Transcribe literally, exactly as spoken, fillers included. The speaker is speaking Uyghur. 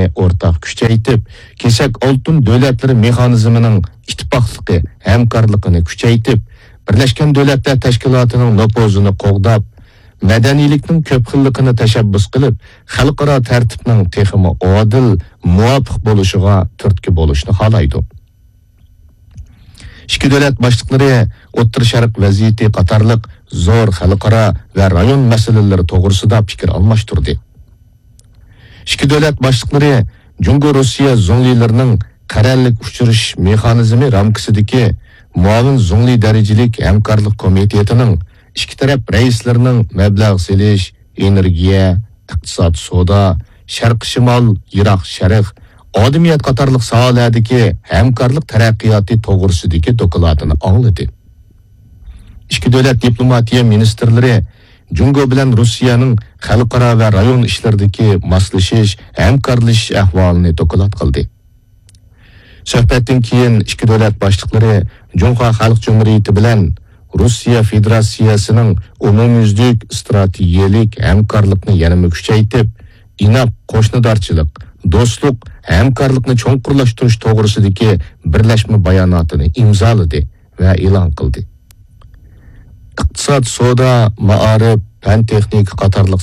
ئورتاق كۈچەيتىپ، كېسەك ئالتۇن دۆلەتلىرى مېخانىزمىنىڭ ئىتتىپاقلىقى، ھەمكارلىقىنى كۈچەيتىپ، بىرلەشكەن دۆلەتلەر تەشكىلاتىنىڭ نوپۇزىنى قوغداپ، مەدەنىيلىكنىڭ كۆپ خىللىقىنى تەشەببۇس قىلىپ، خەلقئارا تەرتىپنىڭ تېخىمۇ ئادىل، مۇۋاپىق بولۇشىغا تۈرتكە بولۇشنى خالايدۇ. ئىككى دۆلەت باشلىقلىرى ئوتتۇرا شەرق ۋەزىيىتى قاتارلىق زور خەلقئارا ۋە رايون مەسىلىلىرى توغرىسىدا پىكىر ئالماشتۇردى. ئىككى دۆلەت باشلىقلىرى جۇڭگو روسىيە زۇڭلىلىرىنىڭ قەرەللىك ئۇچرىشىش مېخانىزمى رامكىسىدىكى مۇئاۋىن زۇڭلى دەرىجىلىك ھەمكارلىق كومىتېتىنىڭ ئىككى تەرەپ رەئىسلىرىنىڭ مەبلەغ سېلىش، ئېنېرگىيە، ئىقتىساد، سودا، شەرقىي شىمال، يىراق شەرق، ئادەمىيەت قاتارلىق ساھەلەردىكى ھەمكارلىق تەرەققىياتى توغرىسىدىكى دوكلاتىنى ئاڭلىدى. ئىككى دۆلەت دىپلوماتىيە مىنىستىرلىرى جۇڭگو بىلەن روسىيەنىڭ خەلقئارا ۋە رايون ئىشلىرىدىكى ماسلىشىش، ھەمكارلىشىش ئەھۋالىنى دوكلات قىلدى. سۆھبەتتىن كېيىن ئىككى دۆلەت باشلىقلىرى جۇڭخۇا خەلق جۇمھۇرىيىتى بىلەن روسىيە فېدېراتسىيەسىنىڭ ئومۇميۈزلۈك ئىستراتېگىيەلىك ھەمكارلىقنى يەنىمۇ كۈچەيتىپ، ئىناق قوشنىدارچىلىق، دوستلۇق، ھەمكارلىقنى چوڭقۇرلاشتۇرۇش توغرىسىدىكى بىرلەشمە باياناتىنى ئىمزالىدى ۋە ئېلان قىلدى. ئىقتىساد، سودا، مائارىپ، پەن تېخنىكا قاتارلىق